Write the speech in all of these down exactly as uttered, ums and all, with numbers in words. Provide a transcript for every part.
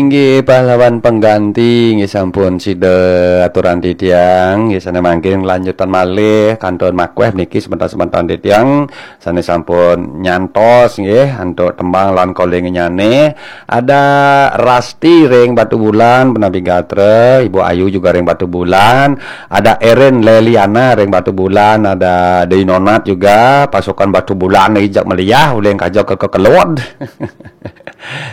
Inggih pahlawan pengganti, inggih sampun sida aturan titiang, inggih sané mangkin lanjutan malih kantun makuéh niki semeton-semeton titiang sané sampun nyantos nggih antuk tembang lan kolingnyané. Ada Rasti ring Batubulan, punapi gatra, Ibu Ayu juga ring Batubulan, ada Erin Leliana ring Batubulan, ada Deinonat juga, pasukan Batubulan ijak meliah, uling kaja ke kekelod.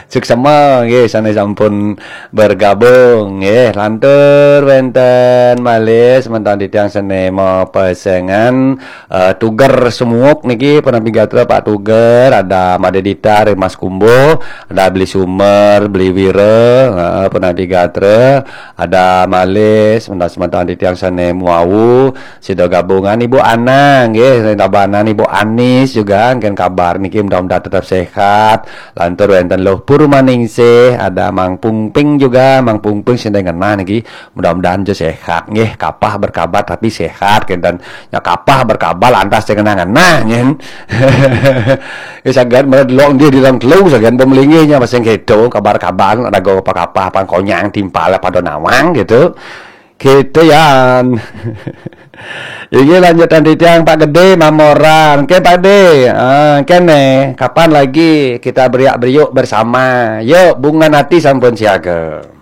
Suksema nggih sané sampun bergabung nggih. Lantur wénten malih semeton titiang sané mapesengan eh, Tuger Semuuk niki, punapi gatra Pak Tuger, ada Madé Dita ring Mas Kumbuh, ada Beli Sumer, Beli Wira, heeh, punapi gatra, ada malih semeton-semeton titiang sané muawu, sida gabungan Ibu Ana nggih, ring Tabanan Ibu Anis juga, engken kabar niki mudah-mudahan tetap sehat. Lantur wénten Luh Purmaningsih, ada Mang Pungping juga, Mang Pungping sing ngenah niki, mudah-mudahan ja sehat nggih, kapah berkabar tapi sehat kénten. Ya kapah berkabar lantas sing ngenah-ngenah nggih. Ya sagan mara delok nggih di dalam telu sagan pemelinggihnya masing kéto kabar-kabar raga apa kapah pangkonyang timpal pada nawang gitu. Gitu yan. Inggih lanjutan titiang Pak Gedé Mamoran. Oke Pak Gedé, ah, kéné kapan lagi kita beriak-beriuk bersama? Yuk, bungan hati sampun siaga.